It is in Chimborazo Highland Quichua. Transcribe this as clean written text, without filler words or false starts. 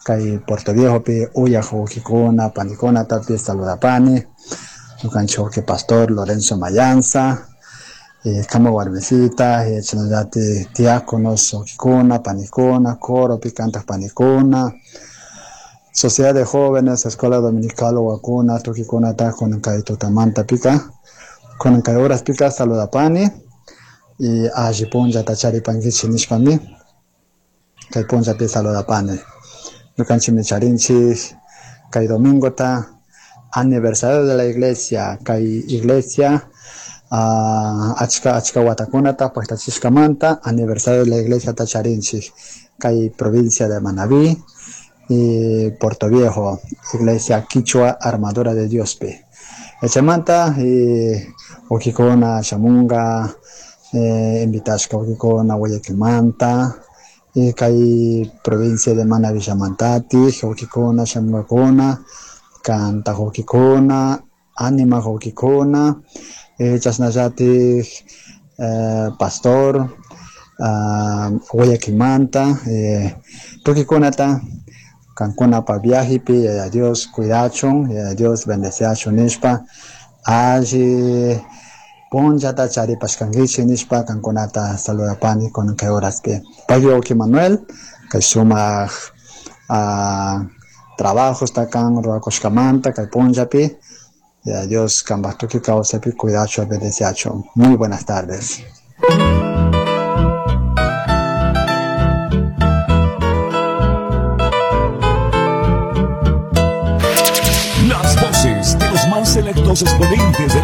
Kay Puerto Viejopi uyaj wawkikuna panikunatapish saludapani. Ñukanchik wawki pastor Lorenzo Mayanza, kama warmisita, chashnallatik diáconos wawkikuna panikuna, coropi kantak panikuna, Sociedad de Jóvenes, Escuela Dominical wawakuna, tukikunata kunan kay tutamantapika, kunan kay horaspika saludapani y alli punllata charipankichik nishpami kay punllapi saludapani. Ñukanchikmi charinchik kay domingota aniversario de la iglesia, kay iglesia achka achka watakunata paktachishkamanta aniversario de la iglesiata charinchik kay provincia de Manabí y Puerto Viejo, iglesia Quichua Armadura de Diospi. Chaymanta wawkikuna shamunga invitashka wawkikuna Guayaquilmanta y kay provincia de Manabí llamantatik wawkikuna shamungakuna, kantak wawkikuna, animak wawkikuna, chashnallatik pastor Guayaquilmanta tukikunata kankunapa viajepi Yaya Dios cuidachun, Yaya Dios bendeciachun nishpa alli punllata charipashkankichik nishpa kankunata saludapani kunan kay horaspi. Pagui wawki Manuel, kay sumak trabajosta kan rurakushkamanta kay punllapi Yaya Dios kanpak tukuy kawsaypi cuidachun, bendeciachun. Muy buenas tardes. Las voces de los más selectos exponentes de la